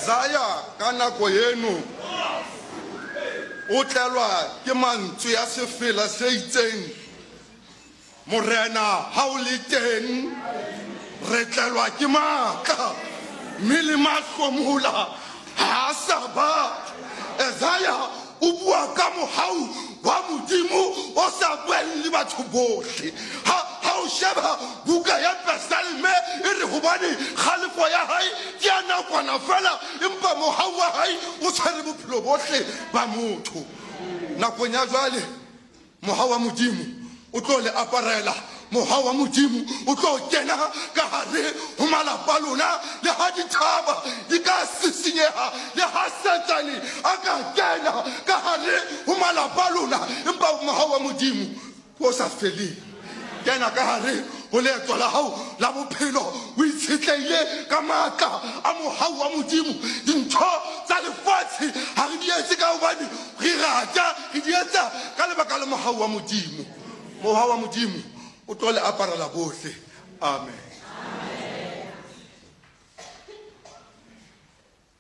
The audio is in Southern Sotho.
Isaya ka nako eno o tlelwa ke mantswe a sefela se itseng, Morena, ha o le teng, re tlelwa ke matla, mme le mahlomola ha a sa ba. Isaya o bua ka mohau wa Modimo o sa bueng le batho bohle. Ha, ha o sheba buka ya Pesalme e re hobane kgalefo ya hae ke ya nakwana feela, empa mohau wa hae o tshwere bophelo bohle ba motho. Nakong ya jwale, Mohau wa Modimo o tlo le aparela. Mohau wa Modimo o tlo kena ka hare ho malapa a lona. Le ha dithaba di ka sisinyeha, le ha Satane a ka kena ka hare ho malapa a lona, empa mohau wa Modimo ke o sa feleng. Kena ka hare ho leeto la hao la bophelo o itshetlehile ka matla a mohau wa Modimo. Dintho tsa lefatshe ha re di etse ka hobane re rata, re di etsa ka lebaka la mohau wa Modimo. Mohau wa Modimo o tlo le aparela bohle. Amen.